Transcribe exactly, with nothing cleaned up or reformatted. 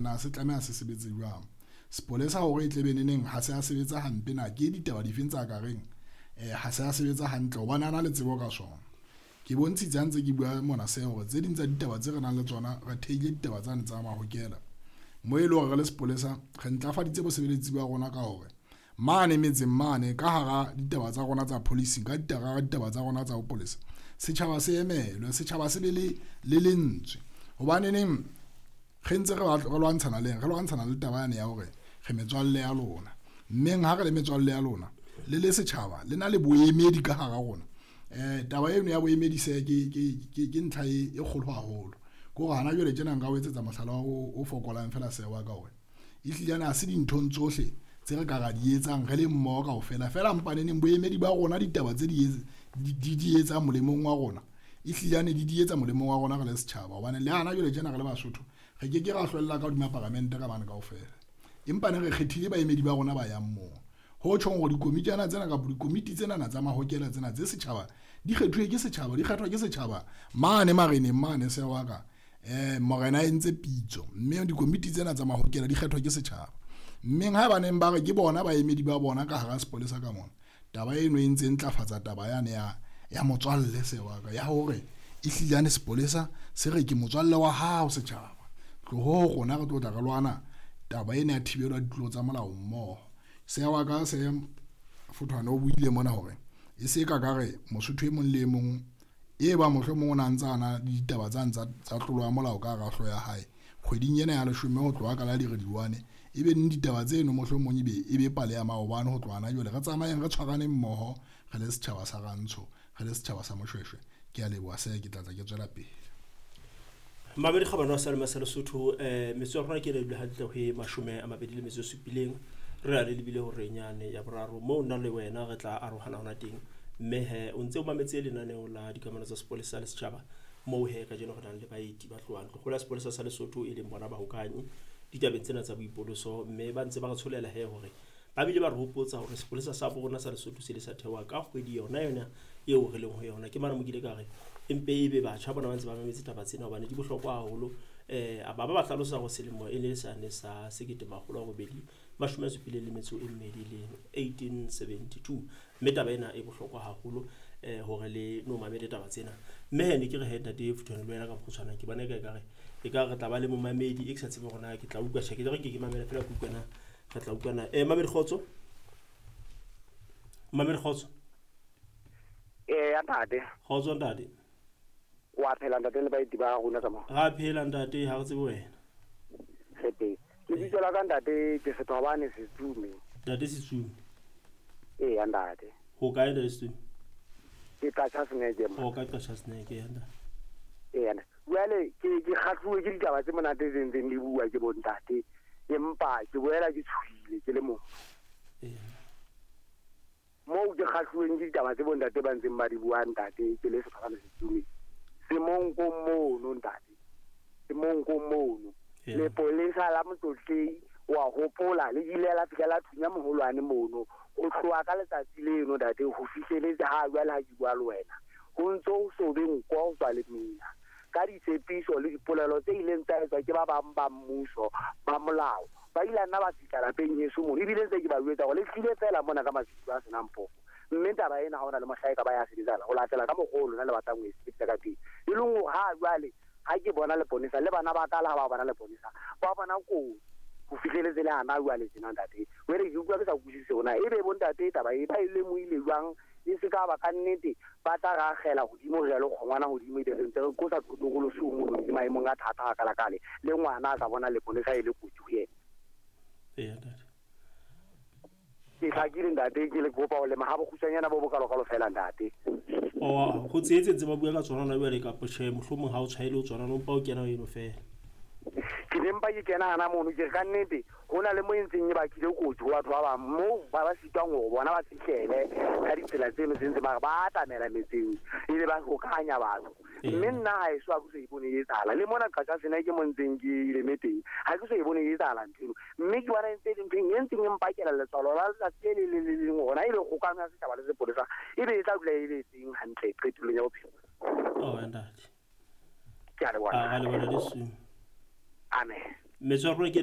Na se tlameha se sebetse jwang? Sepolesa hore e tle be neneng ha se a sebetsa hampe na ke ditaba difeng tsa ka reng eh ha se a sebetsa hantle hobane a na le tsebo ka sona. Ke bontshitse ha ntse ke bua mona se hore tse ding tsa ditaba tse re nang le tsona re thehile ditaba tsane tsa mahokela mo e leng hore re le sepolesa re ntlafaditse bosebeletsi ba rona ka hore mane metseng mane ka hara ditaba tsa rona tsa policing, ka ditaba ditaba tsa rona tsa ho polisa, setjhaba se emelwe, setjhaba se be le le lentswe. Hobane neng re ntse re re lwantshana le re lwantshana le taba yane ya hore re metswalle ya lona, mmeng ha re le metswalle ya lona le le setjhaba le na le boemedi ka hara rona. Eh taba eno ya boemedi se ke ke ke ntlha e kgolo haholo. Ke hore hana jwale tjena nka o etsetsa mohlala o fokolang fela sewa ka hore ehlile ana se dinthong tsohle tse re ka ra di etsang re le mmoho kaofela fela mpaneneng boemedi ba rona ditaba tse di di di etsang molemong wa rona ehlile ane di di etsa molemong wa rona re le setjhaba. Hobane le hana jwale tjena re le Basotho re ke ke ra hlwella ka hodima paramente ka bana kaofela, empa ne re kgethile baemedi ba rona ba yang moo. Ho tjhong hore dikomitjana tsena kapa dikomiti tsena tsa mahokela tsena tse setjhaba di kgethuwe ke setjhaba, di kgethwa ke setjhaba mane mareneng mane se wa ka eh morena entse pitso, mme dikomiti tsena tsa mahokela di kgethwa ke setjhaba. Mme ha ba neng ba re ke bona baemedi ba bona ka hara sepolesa ka mona, taba eno e ntse ntlafatsa taba yane ya ya motswalle se wa ka ya hore ehlile ane sepolesa se re ke motswalle wa hao setjhaba, tloho rona re tlo tla re lwana taba ena ya thibelo ya ditlolo tsa molao mmoho. Se wa ka se Fothwane o buile mona hore e se ka ka re Mosotho e mong le e mong e ba mohlomong o na ntse a na le ditaba tsa tsa tlolo ya molao ka hara hlooho ya hae kgweding ena ya leshome ho tloha ka la dirediwane e be neng ditaba tseno mohlomong e be e be pale ya maobane ho tloha na jwale re tsamayeng re tshwarane mmoho re le setjhaba sa Rantsho, re le setjhaba sa Moshweshwe. Ke a leboha se ke tla tla ke tswela pele. Mabedi kgabane wa Salema sa Lesotho eh metso ya rona ke le hantle ho e mashome a mabedi le metso e supileng re a le lebile hore nyane ya boraro moo nna le wena re tla arohana hona teng. Mme he o ntse o mametse lenaneo la dikamano tsa sepolesa le setjhaba moo he kajeno re nang le baeti ba tlohang tlogolo ya sepolesa sa Lesotho e leng bona bahokanyi ditabeng tsena tsa boipoloso, mme ba ntse ba re tsholela he hore ba bile ba re hopotsa hore sepolesa sa borona sa Lesotho se le sa thewa ka kgwedi yona yona eo re leng ho yona. Ke mane mo ke ile ka re empe ebe batjha bona ba ntse ba mametse taba tsena hobane di bohlokwa haholo. Eh ba ba ba hlalosa hore selemo e ne sane sa sekete makgolo a robedi mashome a supileng le metso e mmedi le eighteen seventy-two, mme taba ena e bohlokwa haholo eh hore le no mamele taba tsena. Mme he ne ke re he ntate Fothwane le wena ka mokgutshwane ke bona e ka re e ka re tla ba le momamedi e ke sa tsebe hore na ke tla utlwa tjhe ke re ke ke mamela fela ke utlwa na re tla utlwana. Eh mamedi kgotso, mamedi kgotso. Eh ntate kgotso ntate, wa phela ntate le baeti ba rona ka mo? Ra phela ntate, ha re tsebe wena. Re teng. Ke bitso la ka ntate ke Sethobane Setsume. Ntate Setsume. Eh ntate. Ho kae ntate Setsume? Ke Qachaseneke mo. O ka Qachaseneke ya ntate. Eh ntate. Jwale ke ke kgahluwe ke ditaba tse monate tse ntseng di bua ke bo ntate, empa ke boela ke tshohile ke le motho. Eh. Moo ke kgahluweng ke ditaba tse bo ntate ba ntseng ba di bua ntate ke le Sethobane Setsume. Semonko mono ntate, semonko mono. Lepolesa la Motlotlei wa hopola le ile la fihla la thunya moholwane mono o tloha ka letsatsi leno ntate ho fihleletse ha jwale ha ke bua le wena ho ntso ho so be nko ho tswa le mina ka ditshepiso le dipolelo tse ileng tsa etswa ke ba bang ba mmuso ba molao ba ile nna ba fihla lapeng heso mono ebile ntse ke ba jwetsa hore le tlile fela mona ka masiu a senang phofo mme taba ena ha hona le mohlae ka ba ya sebetsana ho latela ka mokgolo na le batlang ho e sebetsa ka teng e leng hore ha jwale ha ke bona leponesa le bana ba ka la ha ba bona leponesa ba bona ko ho fihleletse le hana jwale tjena ntate wele ke utlwa ke sa utlwisise hona ebe bo ntate taba e ba e lemohile jwang e se ka ba ka nnete ba tla ra akgela hodimo re ya le kgongwana hodimo e re ntse re kosa tokolosi o mono ke maemong a thata a kalakale le ngwana a ka bona leponesa e le kotsi ho yena. Ee ntate ke hlakile ntate ke le kopa ho lema ha bokgutshwanyana bo bokalokalo fela ntate. O ho tsetse tse ba bua ka tsona na jwale kapa tjhe mohlomong ha o tshwaele o tsona no mpa o kena eno fela. Ke ne mpa ke kena hana mono ke re ka nnete ho na le mo e ntseng e bakile kotsi ho batho ba bang moo ba ba sitwang hore bona ba fihlele ka ditsela tseno tse ntse ba re ba atamela metseng ebe ba hokanya batho. Mme nna ha eso ha ke so ipone e etsahala le mona Qachaseneke ke mo ntseng ke ile teng ha ke so ipone e etsahala ntho eno mme ke bona e ntse e le ntho e ntseng e mpakela letswalo la letsatsi le le le leng hona ebe kgokano ya setjhaba le sepolesa ebe e tla dula e le teng hantle qetellong ya bophelo. Oh ntate ke a leboha. A leboha le Amen. Metsotso ya rona ke